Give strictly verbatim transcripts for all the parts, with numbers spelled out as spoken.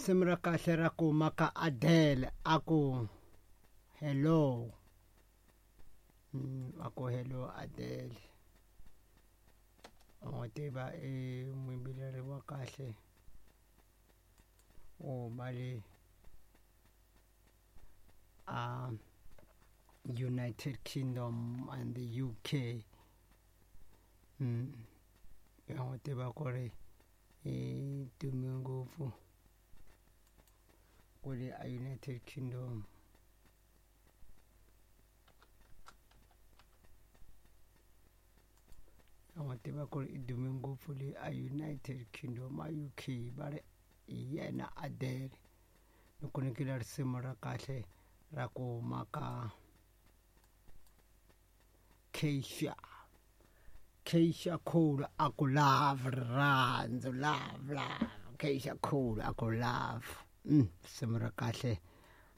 Risimu ra kahle ra ku maka Adele a ku hello. Mm, a ku hello Adele. U n'wi tiva i muyimbeleri wa kahle wo huma le a United Kingdom and the U K. Mm, ya n'wi tiva ku ri i dume ngopfu kwale a United Kingdom. Ya n'wi tiva ku ri i dume ngopfu le a United Kingdom a U K va ri hi yena Adele. Ni ku nyikile risimu ra kahle ra ku huma ka Keisha. Keisha Cole a ku love rirhandzu love love Keisha Cole a ku love. Mm, risimu ra kahle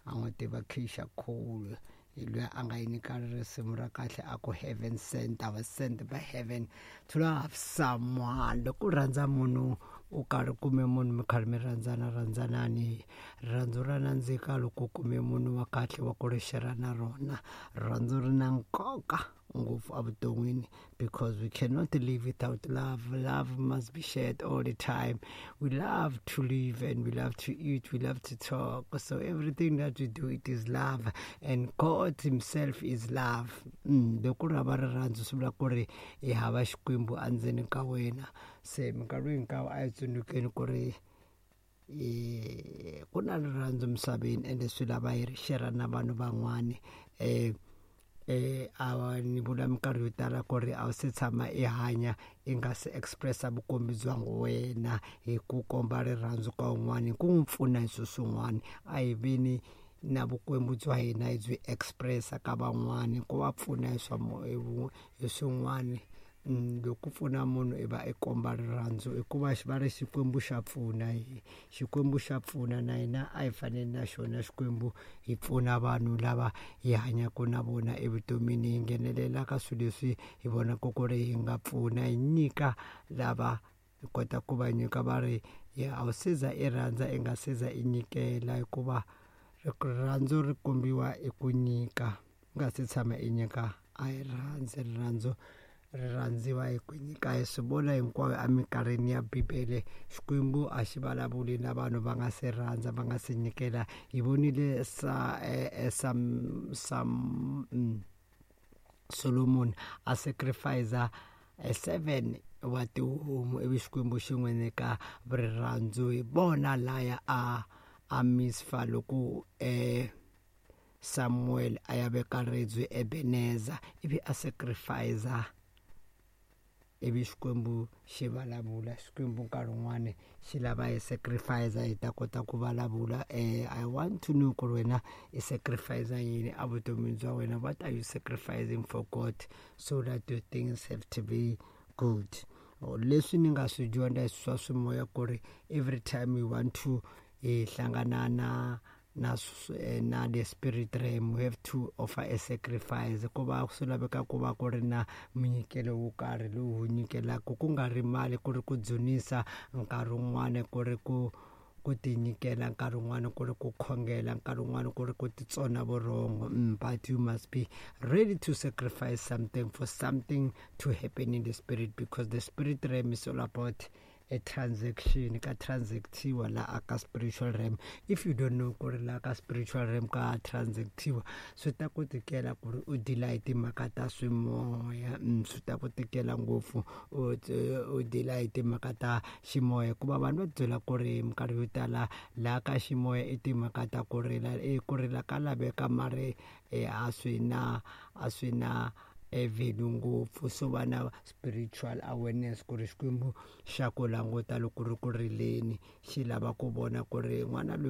a n'wi tiva Keisha Cole hi loyi a nga yi nyika risimu ra kahle a ku heaven sent, I was sent by heaven to love someone. Loko u rhandza munhu u karhi kume munhu mi karhi mi rhandzana rhandzanani, rirhandzu ra nandzika loko u kume munhu wa kahle wa ku ri share na rona. Rirhandzu ri na nkoka ngopfu evuton'wini because we cannot live without love. Love must be shared all the time. We love to live and we love to eat, we love to talk. So everything that we do, it is love, and God himself is love. Mm, loko ri hava rirhandzu swi vula ku ri i hava Xikwembu endzeni ka wena. Se minkarhi hinkwayo a hi tsundzukeni ku ri ku na rirhandzu misaveni ende swi lava hi ri share na vanhu van'wani. Eh eh a ni vula minkarhi yo tala ku ri a wu se tshama i hanya i nga se expressa vukombi bya wena hi ku komba rirhandzu ka un'wana hi ku n'wi pfuna hi swilo swin'wana. A hi vini na vukwembu bya hina hi byi expressa ka van'wani ku va pfuna hi swa hi swin'wana. Loko pfuna munhu i va i komba rirhandzu hikuva va ri Xikwembu xa pfuna, Xikwembu xa pfuna na hina a hi faneli na xona Xikwembu hi pfuna vanhu lava hi hanyaka na vona evutomini, hi nghenelela ka swilo leswi hi vonaka ku ri hi nga pfuna, hi nyika lava hi kota ku va nyika. Va ri a wu se za i rhandza i nga se za i nyikela, hikuva rirhandzu ri kombiwa hi ku nyika. U nga se tshama i nyika a hi rhandzi, rirhandzu ri rhandziwa hi ku nyika. Hi swi vona hinkwayo eminkarhini ya Bibele, Xikwembu a xi vulavuli na vanhu va nga se rhandza, va nga se nyikela. Hi vonile sa Sam Sam Solomon a sacrifice seven wa tihomu ivi Xikwembu xi n'wi nyika rirhandzu. Hi vona laya a a misfa loko eh Samuel a ya veka ribye Ebeneza ivi a sacrifice ivi Xikwembu xi vulavula. Xikwembu nkarhi wun'wani xi lava hi sacrifice hi ta kota ku vulavula. Eh I want to know ku ri wena i sacrifice yini evutomini bya wena. What are you sacrificing for God so that your things have to be good? Leswi ni nga swi dyondza swa swimoya ku ri every time we want to hi hlangana na na na the spirit realm, we have to offer a sacrifice. Ku va swi laveka ku va ku ri na munyikelo wo karhi lowu wu nyikelaka, ku nga ri mali, ku ri ku dzunisa nkarhi wun'wani, ku ri ku ku tinyikela nkarhi wun'wani, ku ri ku khongela nkarhi wun'wani, ku ri ku titsona vurhongo. Mm, but you must be ready to sacrifice something for something to happen in the spirit, because the spirit realm is all about a transaction. Ka transactiwa la aka spiritual realm. If you don't know ku ri la ka spiritual realm ka transactiwa, swi ta ku tikela ku ri u deala hi timhaka ta swimoya. Mm, swi ta ku tikela ngopfu u u deala hi timhaka ta ximoya, hikuva vanhu va byela ku ri minkarhi yo tala laha ka ximoya i timhaka ta ku rila, e ku rila ka laveka mari a swi na a swi na value ngopfu. So va na spiritual awareness ku ri Xikwembu xa ku languta loko ri ku rileni, xi lava ku vona ku ri n'wana loyi